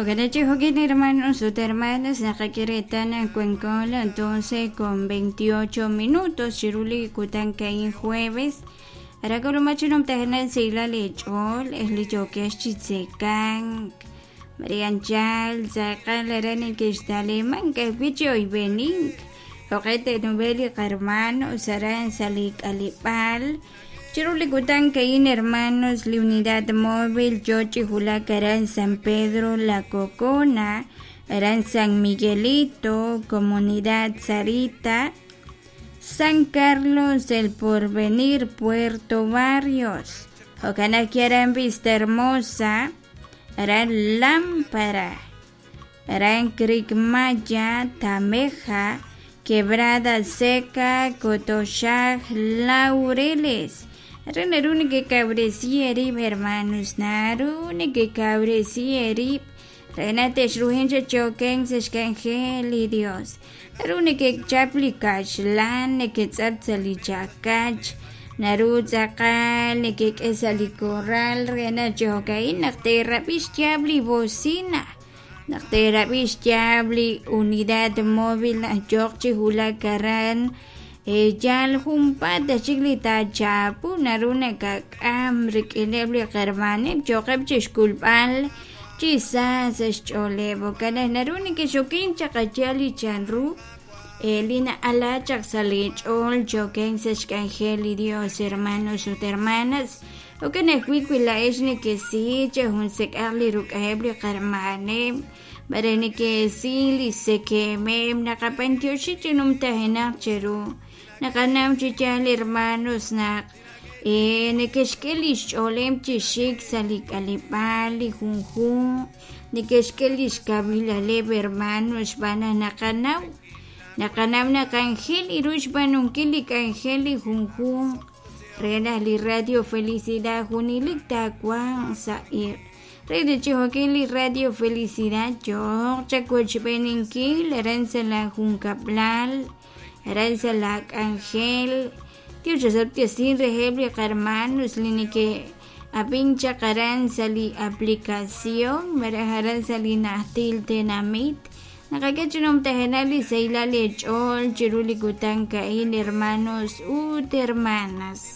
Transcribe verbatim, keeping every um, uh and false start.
Jo'kan jo'kin hermanos ut hermanas naqak'e reetal naq wanko las doce con veintiocho minutos chiru li kutan ka'in jueves aran k'ulumaj chi numtajenaq sahilal eech'ool eh li yookex chi tzekank Marianchal tz'aqal aran nekextaliman ka'ajwi' chi oyb'enink jo'qe te'nub'el li qarmanos aran sa' li k'aleb'aal chiru li kutan ka'in hermanos li unidad móvil yoo chi wulak aran San Pedro La Cocona aran San Miguelito Comunidad Sarita San Carlos El Porvenir Puerto Barrios jo'kan ajwi' aran Vista Hermosa aran Lámpara aran Cricmaya Tameja Quebrada Seca Cotoxaj Laureles re naru nekekawresi eerib' hermanos naru nekekawresi eerib' re naq texruhin chi choken sa' xk'anjel li Dios naru nekechap li kaxlan neketz'ap sa' li chakach naru tz'aqal nekek'e sa' li corral re naq chi jo'ka'in naq teerab'i xyaab' li bocina naq teerab'i xyaab' li unidad móvil naq yooq chi wulak aran yaal junpaat chik li taachapu naru nakak'am rik'ineb' li qarmaneb' yooqeb' chixk'ulb'al chi sa sa' xch'ooleb' jo'kan naq naru nekexokin chaq ayal li chanru li na'ala chaq sa' li ch'ool choken sa' xk'anjel li Dios hermanos ut hermanas jo'kan ajwi' wi laa'ex nekesi cha junsek'aq li ruk'aheb' li qarmaneb' bare nekesi li sekemeb' naqapantioxi chi numtajenaq cheru naqanaw chi yaal hermanos naq nekexk'e li xch'ooleb' chi xik sa' li k'aleb'aal li junjunq nekexk'e li xkawilaleb' hermanos xb'aan naq naqanaw naqanaw naq anjel iru xb'aanunkil li k'anjel li junjunq re naq li Radio Felicidad junelik taawanq sa' iq' re chi jo'kin li Radio Felicidad yooq chawochb'eninkil aran sa' la junkab'lal aran sa' la k'anjel Dios osob'tesin reheb' li qarmanos li neke ab'in chaq aran sa' li aplicación malaj aran sa' li najtil tenamit naqak'e chi numtajenaq li sahilal eech'ool chiru li kutan ka'in hermanos ut hermanas.